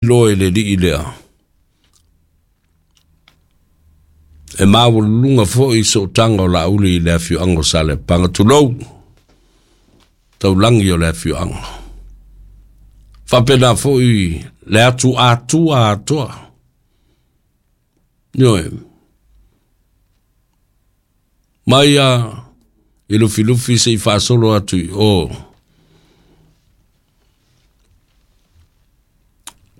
Loa i le alii lea. E maualuluga foi sootaga o Laauli i le afioaga o Saleapaga, tulou, taulagi o le afioaga. Faapena foi le atu Atua atoa. Ioe. Mai a i Lufilufi se i faasolo atu i o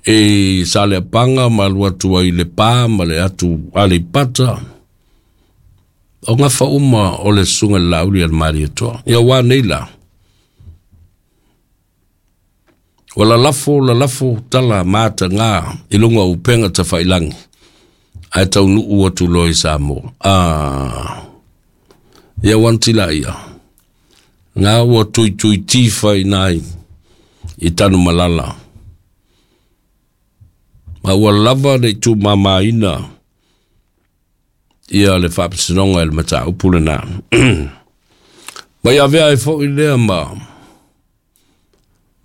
i Saleapaga ma alu atu ai i Lepa ma le atu Aleipata, o gafa uma o le Susuga i le Laauli a le Malietoa. Ia ua nei la, ua lalafo lalafo tala mataga i luga o upega tafailangi, ae taunuu atu loa i Samoa. Ah, ia ua antila ia. Ngā ua tuitui tifa i nai i Tanumalala. Ma ua lava le tumamaina ia le faamasinoga i le mataupu lena. Ma ia avea ai foi lea ma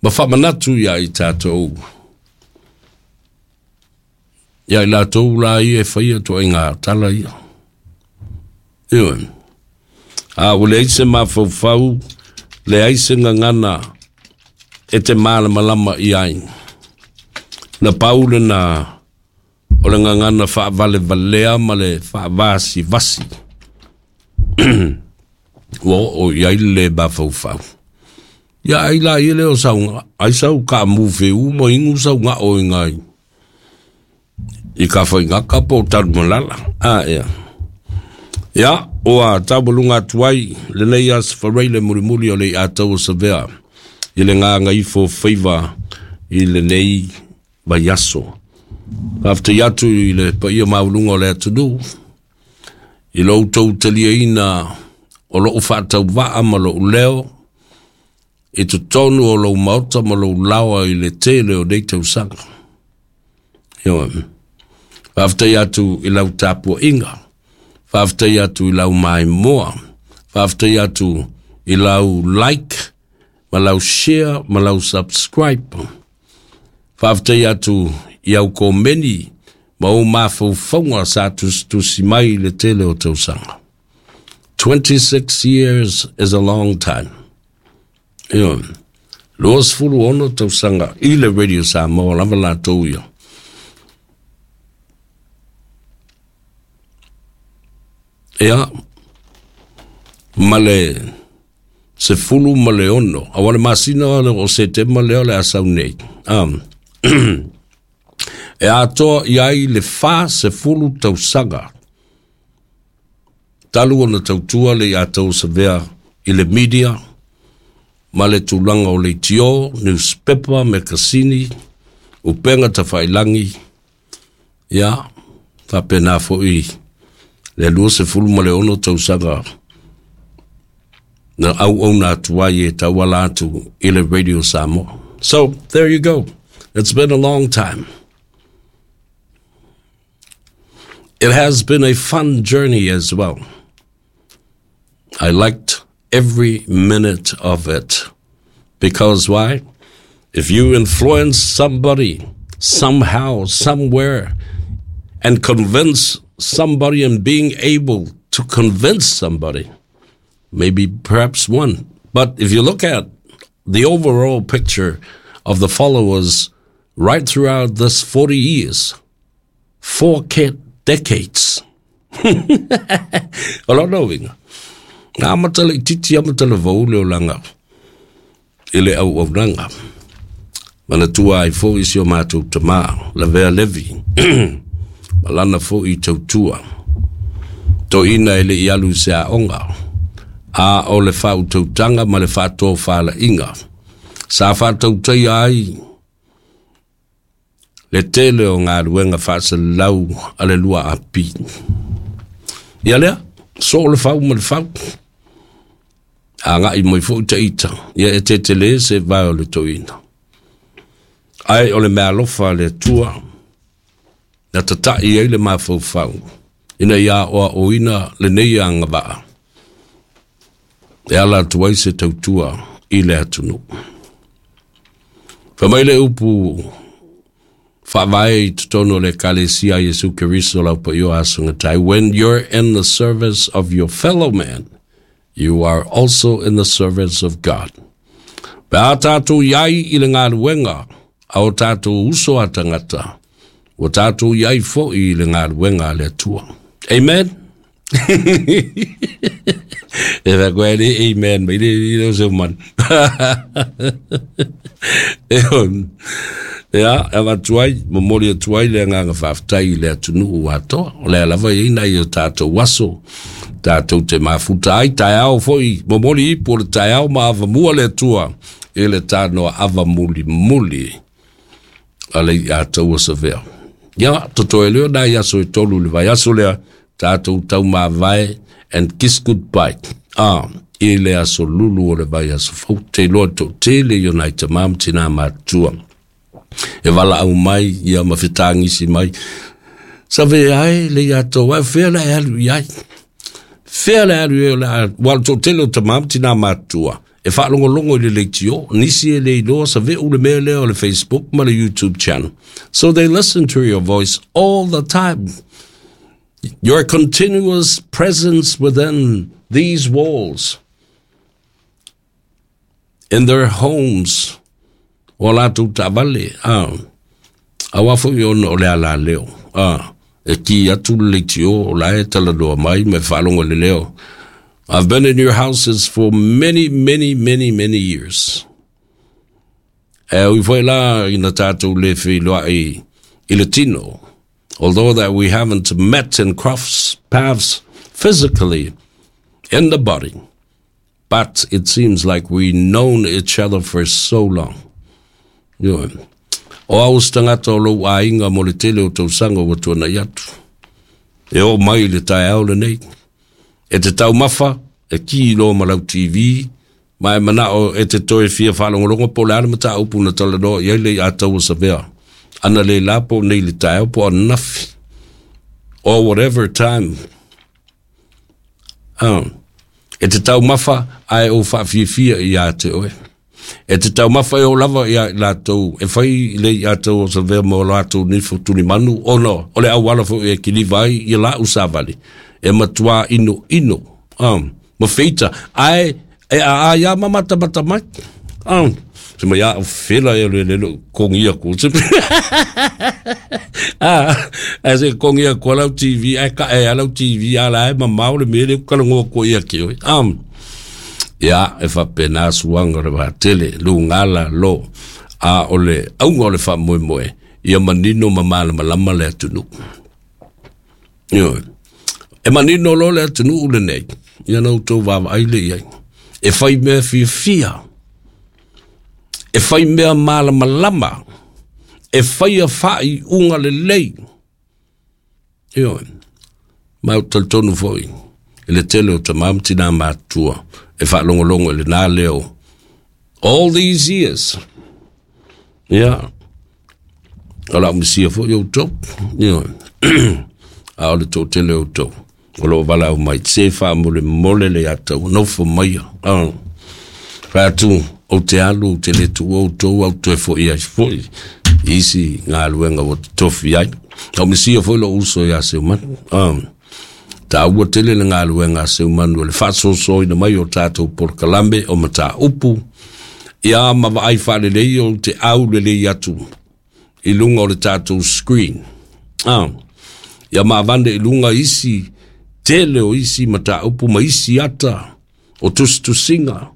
ma faamanatu ia i tatou ia i latou la ia e faia ituaiga tala ia. Ioe. A ua leai se mafaufau, leai se gagana e te malamalama i ai. Na pau lena o le gagana faavalevalea ma le faavasivasi ua oo i ai le mafaufau. Ia ai la ia lea o sau, ai sau kaamu feu ma inu sau gao i ngai i Tafaigata po o Tanumalala. A ea. Ia, ua taualuga atu ai lenei aso faraile mulimuli o le iatau o Savea i le gagaifo faiva i lenei vaiaso. Faafetai atu i le paia maualuga o le atunuu i lo outou taliaina o lou faatauvaa ma lou leo i totonu o lou maota ma lou laoa i le tele o nei tausaga. Ioe. Faafetai atu i lau tapuaiga, faafetai atu i lau maimoa, faafetai atu i lau like ma lau share ma lau subscribe. Faafetai atu i au komeni ma ou mafaufauga sa tusitusi mai i le tele o tausaga. 26 years is a long time. Ioe. 26 tausaga i le Radio Samoa lava latou ia. Ia, ma le 16, aua le masina o Setema lea o le a sau nei. E atoa i ai le 40 tausaga talu ona tautua le iatau Savea i le media ma le tulaga o leitio, newspaper, mekasini, upega tafailangi, ia, faapena foi le 26 tausaga na auauna atu ai e tauala atu i le Radio Samoa. So, there you go. It's been a long time. It has been a fun journey as well. I liked every minute of it. Because why? If you influence somebody somehow, somewhere, and convince somebody and being able to convince somebody, maybe perhaps one. But if you look at the overall picture of the followers right throughout this 40 years, 4 decades. O lona uiga, na amata le itiiti amata le vau le olaga i le auaunaga. Manatua ai foi si o matou tamā, Lavea Levi, ma lana foi tautua. Toeaina e le i alu i se aoga, a o le faautautaga ma le faatofalaiga sa faatautaia ai le tele o galuega faasalalau a le 2AP. Ia lea, soo le fau ma le fau. Agai mai foi ta ita, ia e tetele se vae o le toeaina. Ae o le meaalofa a le Atua, na tata'i ai le mafaufau, ina ia aoaoina lenei agavaa, e ala atu ai se tautua i le atunuu. Fai mai le upu Faavae i totonu o le Ekalesia a Iesu Keriso lau paio aso gatai. When you're in the service of your fellow man, you are also in the service of God. Pe a tātou iai i le galuega a o tātou uso a tagata, ua tātou iai foi i le galuega a le Atua. Amen? E wha koe le amen mai le le o se man. E on. Ia, e avatu ai, momoli atu ai le agaga faafetai i le atunuu atoa. O lea lava e i ai nai o tātou aso, tātou te mafuta ai, taeao foi, momoli ipu o le taeao ma avamua le Atua i le tānoa ava muli muli a le ia taua savea. Ia, totoe leo nai aso e tolu le vai aso lea, tātou tau mavae and kiss goodbye. Ah, i le aso lulu o le vai aso fou, te loa tō tele i o nai tamā ma tinā mātua. E valaau mai ia ma fetagisi mai. Save ai le ia tau ai, fea le alu i ai. Fea le alu i ai, ua tō tele o tamā ma tinā mātua. E faalogologo i le leitio, nisi e le iloa save u le mea lea o le Facebook ma le YouTube channel. So they listen to your voice all the time. Your continuous presence within these walls, in their homes, o latou taavale, a, aua foi ona o le alaleo, a, e ki atu le leitio o la e talanoa mai ma e faalogo i le leo. I've been in your houses for many, many, many, many years. E ui foi la ina tātou le feiloai i le tino, although that we haven't met and crossed paths physically in the body, but it seems like we known each other for so long. Ioe. O au se tagata o lou aiga mo le tele o tausaga ua tuanai atu. E oo mai i le taeao lenei. E te taumafa, e ki loa ma lau TV, ma e manao e te toe fia faalogologo po o le a le mataupu na talanoa i ai le iā Savea. Ana le la po nei le taeao po ananafi. Or whatever time. Ah. E te taumafa ae ou faafiafia ia te oe. E te taumafa e o lava ia i latou, e fai i le ia tau o Savea ma o latou nifo tulimanu, ona o le auala foi e kiliva ai ia lau savali, e matua ino ino, ma feita, ae e a a ia ma matamata mai. Se mai a fela e le le kongi aku. Se ah, a se kongi aku lau TV, ai ka e lau TV ala e mamao le mele kala ngo ko ia ki oi. Ia e faapena suaga o le vaatele lugala lo a o le auga o le faamoemoe ia manino ma malamalama le atunuu. Ioe. E manino loa le atunuu lenei, ia na outou vaavaai lea i ai. E fai mea fiafia, e fai mea malamalama, e faia faaiuga lelei. Ioe. Ma ou te talitonu foi i le tele o tamā ma tinā matutua e faalogologo i lenā leo all these years. Ia, o lau misia foi outou. Ioe. A o le toatele o outou o lo o valaau mai, se faamolemole le ia tau, nofo maia. Ah. Fai atu, ou te alu, ou te le tuua outou, au toe foi ai foi i isi galuega ua totofi ai. Au misia foi lou uso ia Seumanu. Ah. Taua tele le galuega a Seumanu o le faasoasoaina mai o tatou polokalame o mataupu, ia ma vaai faalelei ou te au lelei atu i luga o le tatou screen. Ah. Ia ma avane i luga isi tele o isi mataupu ma isi ata o tusitusiga.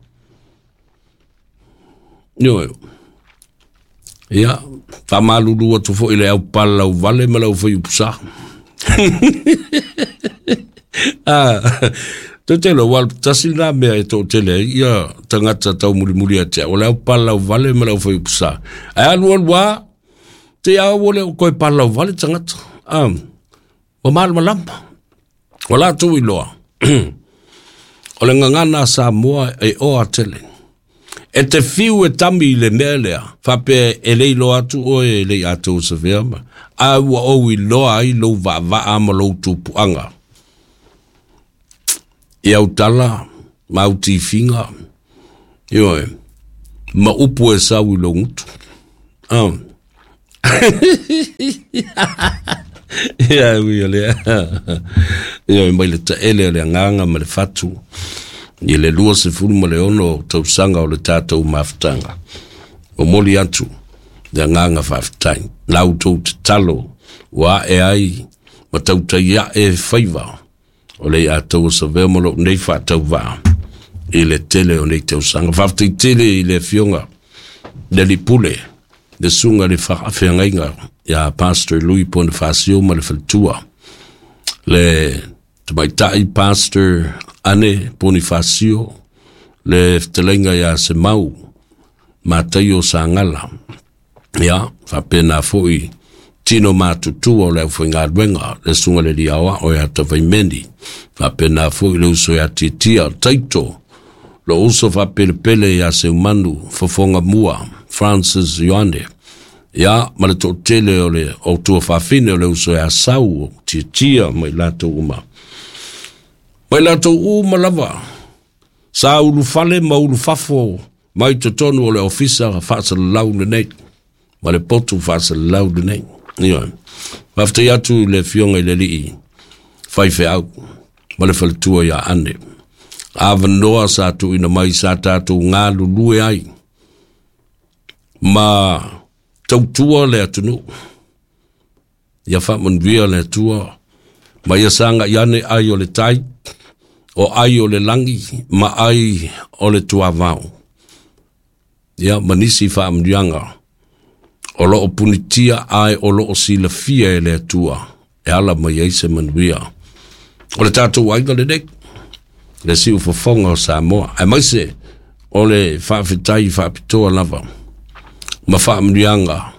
Ioe. Ia, faamalulu atu foi i le au palalauvale ma le au faiupusa. Ah, tele, ua tasi lena mea e toatele ai ia tagata taumulimuli ia te au, o le au palalauvale ma le au faiupusa. Ae alualu lava, te au ua le o toe palalauvale tagata. Ah, ua malamalama. Ua latou iloa, o le gagana a Samoa e oa tele. E te fiu e tami i le mea lea, faapea e le iloa atu oe e le i atoa savea ma, a ua ou iloa ai lou vaavaa ma lou tupuaga. I au tala ma au tifiga, ioe, ma upu e sau i lou gutu. Ah. Ia ui o lea. Ia mai le taele o le agaga ma le fatu i le 26 tausaga o le tatou mafutaga. Momoli atu le agaga faafetai. La outou tatalo ua ae ai ma tautai ae faiva o le ia taua savea ma lou nei faatauvaa i le tele o nei tausaga. Faafetai tele i le afioga le alii pule, le susuga i le faafeagaiga ia Pastor Louis Bonifacio ma le faletua, le tamaitai Pastor Ane Bonifacio, le fetalaiga ia Semau Mataio Sagala, ia faapena foi tino matutua o le aufaigaluega, le susuga i le alii aoao ia Tavaimeni, faapena foi le uso ia Tiatia Taito, lo uso faapelepele ia Seumanu Fofoga Mua Francis Ioane, ia ma le toatele o le o tua faafine o le uso ia Sau o Tiatia ma i latou uma. Ma i latou uma lava, sa ulufale ma ulufafo mai totonu o le ofisa faasalalau lenei, ma le potu faasalalau lenei. Ioe. Faafetai atu i le afioga i le alii faifeau ma le faletua ia Ane. Avanoa sa tuuina mai sa tatou galulue ai ma tautua le atunuu. Ia faamanuia le Atua ma ia sagai ane ai o le tai, o ai o le lagi ma ai o le tuavao. Ia ma nisi faamanuiaga o loo punitia ae o loo silafia e le Atua e ala mai ai se manuia. O le tatou aiga lenei, le siufofoga o Samoa, aemaise o le faafetai faapitoa lava ma faamanuiaga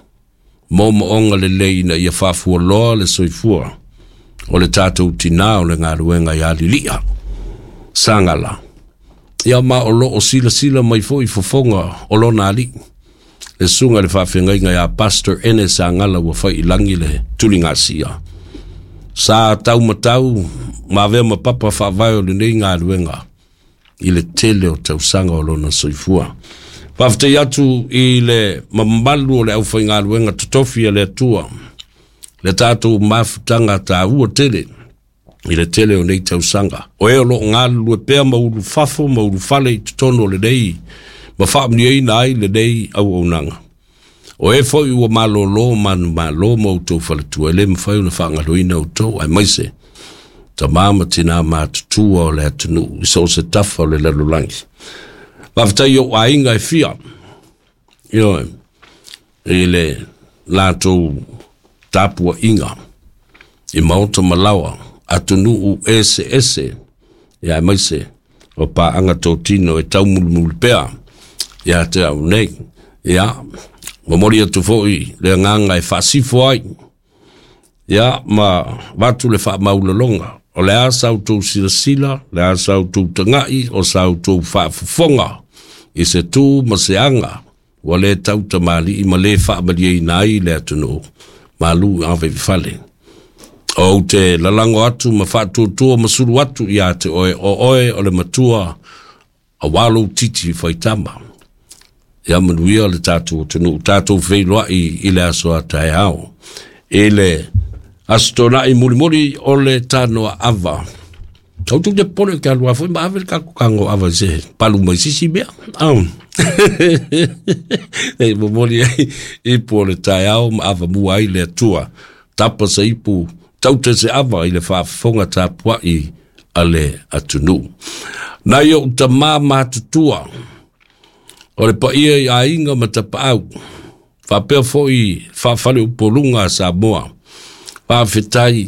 moomooga lelei ina ia faafualoa le soifua o le tatou tinā o le galuega ia Lilia Sagala. Ia ma o loo silasila mai foi fofoga o lona alii, le susuga i le faafeagaiga ia Pastor Ene Sagala ua fai i lagi le tuligasia. Sa taumatau ma avea ma papa faavae o lenei galuega i le tele o tausaga o lona soifua. Faafetai atu i le mamalu o le aufaigaluega totofi a le Atua, le tatou mafutaga taua tele i le tele o nei tausaga. O e o loo galulue pea ma ulufafo ma ulufale i totonu o lenei ma faamanuiaina ai lenei auaunaga. O e foi ua malolo manumalo ma outou faletua, e le mafai ona faagaloina outou, aemaise tama ma tina matutua o le atunuu i so o se tafa o le lalolagi. Faafetai i ou aiga e fia, ioe, i le latou tapuaiga i maota ma laoa, atunuu eseese, ia aemaise o paaga totino e taumulimuli pea ia te au nei. Ia, momoli atu foi le agaga e faasifo ai, ia, ma vatu le faamaulaloga, o le a sa outou silasila, le a sa outou tagai, o sa outou faafofoga i se tu ma se aga, ua le tautamalii ma le faamalieina ai le atunuu, malu ave i fale. O ou te lalago atu ma faatuatua ma sulu atu ia te oe, o oe o le matua, aua lou titi faitama. Ia manuia le tatou atunuu, tatou feiloai i le aso a taeao. I le aso Toonai mulimuli o le tanoa ava. Au tu te pole ke alua foi ma ave le kako kango ava i se palu mai sisi mea. Au. Ei momoli ai ipu o le taeao ma ava mua ai le Atua. Tapa se ipu, taute se ava i le faafofoga tapuai a le atunuu. Nai ou tamā matutua, o le paia i aiga ma tapaau, faapea foi faafaleupoluga a Samoa, faafetai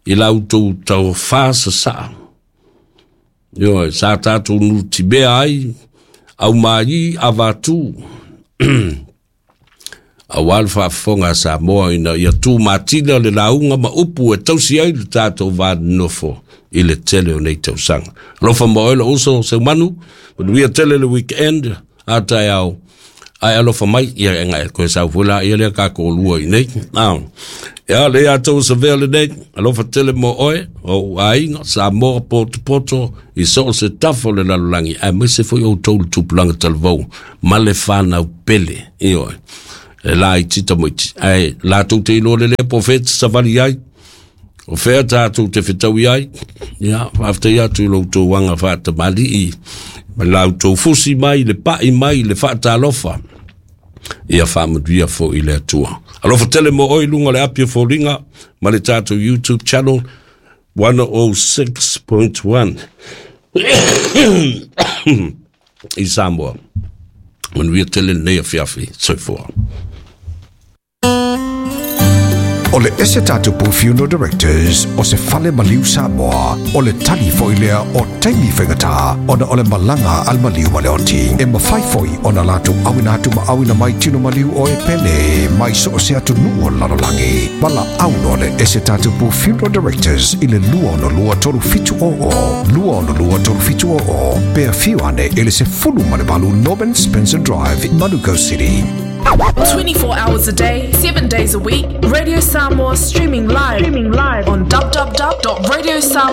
i la outou taufa sasaa. Ioe, sa tatou nutimea ai, aumai avatu, aua le faafofoga a Samoa ina ia tumatila le lauga ma upu e tausi ai le tatou va nonofo i le tele o nei tausaga. Alofa ma oe lou uso Seumanu, manuia tele le weekend a taeao, ae alofa mai, ia e ngai koe sau foi la ia lea ka lua i nei. Ia le ia tau savea lenei, alofa tele mo oe, o aiga, Samoa potopoto, i so o se tafa o le lalolagi, aemaise foi outou le tupulaga talavou, ma le fanau pele, ioe. E laiti tamaiti, ae latou te iloa lelei po o fea e te savali ai, o fea tatou te fetaui ai. Ia, faafetai atu i lo outou aga faatamalii ma la outou fusi mai, le pai mai, le faatalofa. Ia faamanuia foi le Atua. Alofa tele mo oe i luga o le api o foliga ma le tatou YouTube channel 106.1 i Samoa. Manuia tele lenei afiafi. Soifua. O le ese tatou Funeral Directors o se fale maliu Samoa, o le tali foi lea o taimi faigata ona o le malaga a le maliu ma le oti. E mafai foi ona latou auina atu ma auina mai tino maliu o e pele mai so o se atunuu o le lalolagi. Valaau loa le ese tatou Funeral Directors i le 262 3700, 262 3700, pe afio ane i le 18 Norman Spencer Drive, Manukau City. 24 hours a day, 7 days a week, Radio Samoa streaming live on www.radiosamoa.